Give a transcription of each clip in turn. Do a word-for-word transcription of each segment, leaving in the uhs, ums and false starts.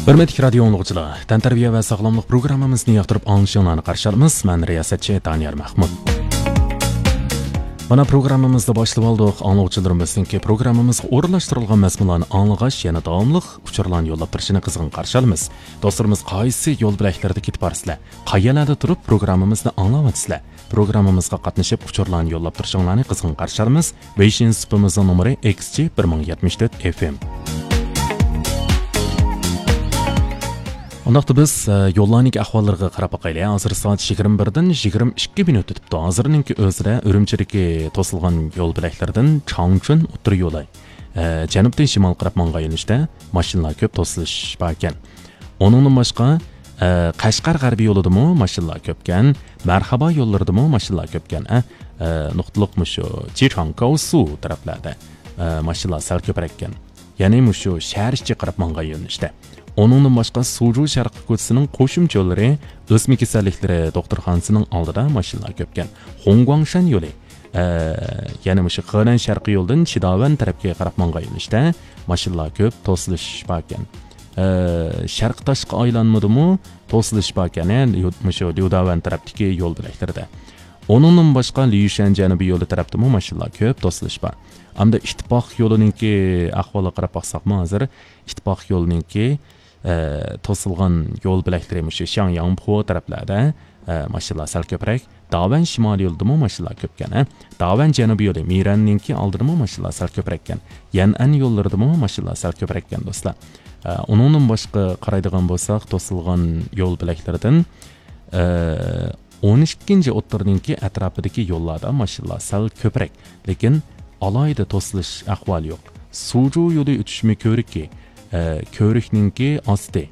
ھۆرمەتلىك رادىيو ئاڭلىغۇچىلار، تەنتەربىيە ۋە ساغلاملىق پروگراممىمىزنى ياقتۇرۇپ ئاڭلىشىڭلارنى قارشى ئالىمىز. مەن رىياسەتچى دانىيار مەھمۇت. مانا پروگراممىمىزنى باشلىۋالدۇق. ئاڭلىغۇچىلىرىمىزنىڭكى پروگراممىمىزغا ئورۇنلاشتۇرۇلغان مەزمۇنلارنى ئاڭلىغاچ، يەنە داۋاملىق ئۇچۇرلارنى يوللاپ تۇرۇشىنى قىزغىن قارشى ئالىمىز. دوستلىرىمىز قايسى يول بۆلەكلىرىدە كېتىپ بارىسىلەر؟ قەيەرلەردە تۇرۇپ پروگراممىمىزنى ئاڭلاۋاتىسىلەر؟ پروگراممىمىزغا قاتنىشىپ ئۇچۇرلارنى يوللاپ تۇرۇشۇڭلارنى قىزغىن قارشى ئالىمىز. ۋېيشىن سۇپىمىزنىڭ نومۇرى ئېكس جى بىر مىڭ يەتمىش تۆت ئېف ئېم. ئۇنداقتا بىز، ئە، يوللارنىڭكى ئەھۋاللىرىغا قاراپ باقايلى. ھازىر سائەت يىگىرمە بىردىن يىگىرمە ئىككى مىنۇت ئۆتۈپتۇ. ھازىرنىڭكى ئۆزىدە ئۈرۈمچىدىكى توسۇلغان يول بۆلەكلىرىدىن چاڭچۈن ئوتتۇرا يولى، ئە، جەنۇبتىن شىمال قاراپ ماڭغان يۆنىلىشتە ماشىنىلار كۆپ، توسۇلۇش باركەن. ئۇنىڭدىن باشقا، ئە، قەشقەر غەربىي يولىدىمۇ ماشىنىلار كۆپكەن، مەرھابا يوللىرىدىمۇ ماشىنىلار كۆپكەن، ئە، ئە، نۇقتىلىق مۇشۇ جىچاڭ گاۋسۇ تەرەپلەردە، ئە، ماشىنىلار سەل كۆپرەككەن. يەنى مۇشۇ شەھەر ئىچى قاراپ ماڭغان يۆنىلىشتە. ئۇنىڭدىن باشقا، سۇجۇ شەرقىي كوچىسىنىڭ قوشۇمچە يوللىرى، ئۆسمە كېسەللىكلىرى دوختۇرخانىسىنىڭ ئالدىدا ماشىنىلار كۆپكەن. خۇڭگۇاڭشەن يولى، ئە، يەنى مۇشۇ خېنەن شەرقىي يولدىن شىداۋەن تەرەپكە قاراپ ماڭغان يۆنىلىشتە ماشىنىلار كۆپ، توسۇلۇش باركەن. ئە، شەرقىي تاشقى ئايلانمىدىمۇ توسۇلۇش باركەن، يەنى يۇ-، مۇشۇ ليۇداۋەن تەرەپتىكى يول بۆلەكلىرىدە. ئۇنىڭدىن باشقا، ليۇشەن جەنۇبىي يولى تەرەپتىمۇ ماشىنىلار كۆپ، توسۇلۇش بار. ئەمدى ئىتتىپاق يولىنىڭكى ئەھۋالىغا قاراپ باقساقمۇ، ھازىر ئىتتىپاق يولىنىڭكى، ئە، توسۇلغان يول بۆلەكلىرى مۇشۇ شياڭياڭپو تەرەپلەردە، ئە، ماشىنىلار سەل كۆپرەك. داۋەن شىمالىي يولىدىمۇ ماشىنىلار كۆپكەن، ھە. داۋەن جەنۇبىي يولى مىرەننىڭكى ئالدىدىمۇ ماشىنىلار سەل كۆپرەككەن. يەنئەن يوللىرىدىمۇ ماشىنىلار سەل كۆپرەككەن، دوستلار. ئە، ئۇنىڭدىن باشقا قارايدىغان بولساق، توسۇلغان يول بۆلەكلىرىدىن، ئە، ئون ئىككىنچى ئوتتۇرىنىڭكى ئەتراپىدىكى يوللاردا ماشىنىلار سەل كۆپرەك، لېكىن ئالاھىدە توسۇلۇش ئەھۋالى يوق. سۇجۇ يولى ئۆتۈشمە كۆۋرۈكى، ئە، كۆۋرۈكنىڭكى ئاستى،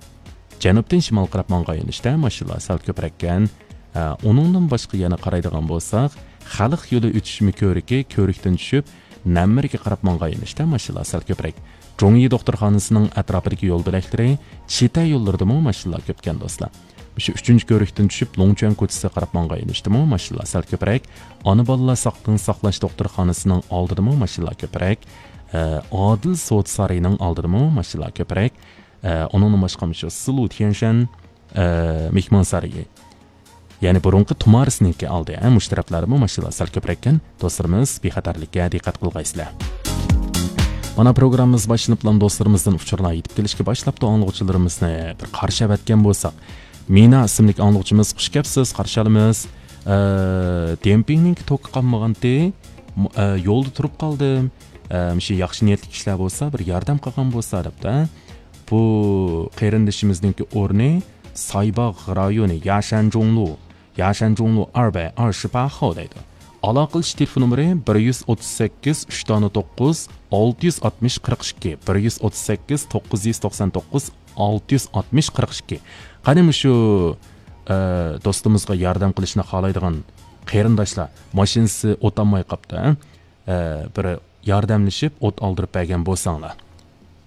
جەنۇبتىن شىمال قاراپ ماڭغان يۆنىلىشتە ماشىنىلار سەل كۆپرەككەن. ئە، ئۇنىڭدىن باشقا يەنە قارايدىغان بولساق، خەلق يولى ئۆتۈشمە كۆۋرۈكى، كۆۋرۈكتىن چۈشۈپ، نەممىرگە قاراپ ماڭغان يۆنىلىشتە ماشىنىلار سەل كۆپرەك. جۇڭيى دوختۇرخانىسىنىڭ ئەتراپىدىكى يول بۆلەكلىرى، چىتە يوللىرىدىمۇ ماشىنىلار كۆپكەن، دوستلار. مۇشۇ ئۈچىنچى كۆۋرۈكتىن چۈشۈپ، لوڭچۈەن كوچىسىغا قاراپ ماڭغان يۆنىلىشتىمۇ ماشىنىلار سەل كۆپرەك. ئانا بالىلار ساقلىقنى ساقلاش دوختۇرخانىسىنىڭ ئالدىدىمۇ ماشىنىلار كۆپرەك. ئە، ئادىل سودا سارىيىنىڭ ئالدىدىمۇ ماشىنىلار كۆپرەك. ئە، ئۇنىڭدىن باشقا مۇشۇ سىلۇ تيەنشەن، ئە، مېھمانسارىيى، يەنى بۇرۇنقى تۇمارىسنىڭكى ئالدى، ئە، مۇشۇ تەرەپلەردىمۇ ماشىنىلار سەل كۆپرەككەن. دوستلىرىمىز، بىخەتەرلىككە دىققەت قىلغايسىلەر. مانا پروگراممىمىز باشلىنىپلا دوستلىرىمىزدىن ئۇچۇرلار يېتىپ كېلىشكە باشلاپتۇ. ئاڭلىغۇچىلىرىمىزنى بىر قارشى ئەۋەتكەن بولساق، مىنا ئىسىملىك ئاڭلىغۇچىمىز، «خۇش كەپسىز، قارشى ئالىمىز. ئە، دېمپىڭنىڭكى توكى قالمىغانتى، م-، ئە، يولدا تۇرۇپ قالدىم. ئە، مۇشۇ ياخشى نىيەتلىك كىشىلەر بولسا، بىر ياردەم قىلغان بولسا» دەپتۇ. بۇ قېرىندىشىمىزنىڭكى ئورنى سايباغ رايونى، ياشەن جۇڭلۇ، ياشەن جۇڭلۇ ئەربەي ئەرشىپاخو دەيدۇ. ئالاقىلىشىش تېلېفون نومۇرى بىر يۈز ئوتتۇز سەككىز، ئۈچ دانە توققۇز، ئالتە يۈز ئاتمىش، قىرىق ئىككى، بىر يۈز ئوتتۇز سەككىز، توققۇز يۈز توقسان توققۇز، ئالتە يۈز ئاتمىش، قىرىق ئىككى. قېنى مۇشۇ، ئە، دوستىمىزغا ياردەم قىلىشنى خالايدىغان قېرىنداشلار، ماشىنىسى ئوت ئالماي قاپتۇ، ھە؟ ئە، بىر ياردەملىشىپ ئوت ئالدۇرۇپ بەرگەن بولساڭلار.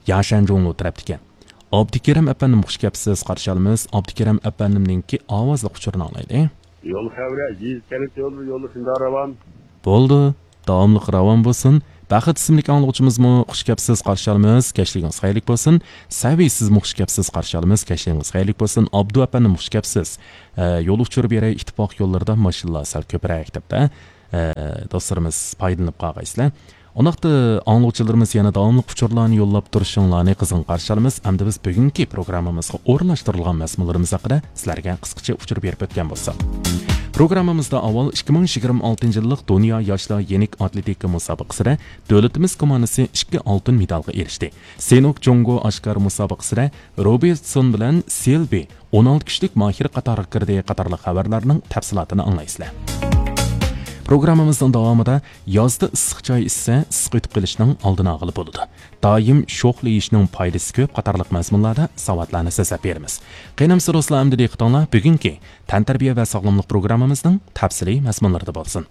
ياشەن جۇڭلۇ تەرەپتىكەن. ئابدۇكېرىم ئەپەندىم، خۇش كەپسىز، قارشى ئالىمىز. ئابدۇكېرىم ئەپەندىمنىڭكى ئاۋازلىق ئۇچۇرىنى ئاڭلايلى. يول خەۋىرى، يېزا كەنت يوللىرى، يوللىرى شۇنداق راۋان. بولدى. داۋاملىق راۋان بولسۇن. بەخت ئىسىملىك ئاڭلىغۇچىمىزمۇ، خۇش كەپسىز، قارشى ئالىمىز، كەچلىكىڭىز خەيرلىك بولسۇن. سەۋىي، سىزمۇ خۇش كەپسىز، قارشى ئالىمىز، كەچلىكىڭىز خەيرلىك بولسۇن. ئابدۇ ئەپەندىم، خۇش كەپسىز. ئە، يول ئۇچۇرى بېرەي، ئىتتىپاق يوللىرىدا ماشىنىلار سەل كۆپرەك دەپتۇ. ئە، دوستلىرىمىز پايدىلىنىپ قالغايسىلەر. ئۇنداقتا ئاڭلىغۇچىلىرىمىز يەنە داۋاملىق ئۇچۇرلارنى يوللاپ تۇرۇشۇڭلارنى قىزغىن قارشى ئالىمىز. ئەمدى بىز بۈگۈنكى پروگراممىمىزغا ئورۇنلاشتۇرۇلغان مەزمۇنلىرىمىز ھەققىدە سىلەرگە قىسقىچە ئۇچۇر بېرىپ ئۆتكەن بولساق. پروگراممىمىزدا ئاۋۋال ئىككى مىڭ يىگىرمە ئالتىنچى يىللىق دۇنيا ياشلار يېنىك ئاتلېتىكا مۇسابىقىسىدە دۆلىتىمىز كوماندىسى ئىككى ئالتۇن مېدالغا ئېرىشتى. سېنوك جۇڭگو ئاشكار مۇسابىقىسىدە روبېرتسون بىلەن سىلبى ئون ئالتە كۈچلۈك ماھىر قاتارغا كىردى قاتارلىق خەۋەرلەرنىڭ تەپسىلاتىنى ئاڭلايسىلەر. پروگراممىمىزنىڭ داۋامىدا يازدا ئىسسىق چاي ئىچسە، ئىسسىق ئۆتۈپ قېلىشنىڭ ئالدىنى ئالغىلى بولىدۇ. دائىم شوخلا يېيىشنىڭ پايدىسى كۆپ قاتارلىق مەزمۇنلاردا ساۋاتلارنى سۆزلەپ بېرىمىز. قېنى ئەمىسە دوستلار، ئەمدى دىققىتىڭلار بۈگۈنكى تەنتەربىيە ۋە ساغلاملىق پروگراممىمىزنىڭ تەپسىلىي مەزمۇنلىرىدا بولسۇن.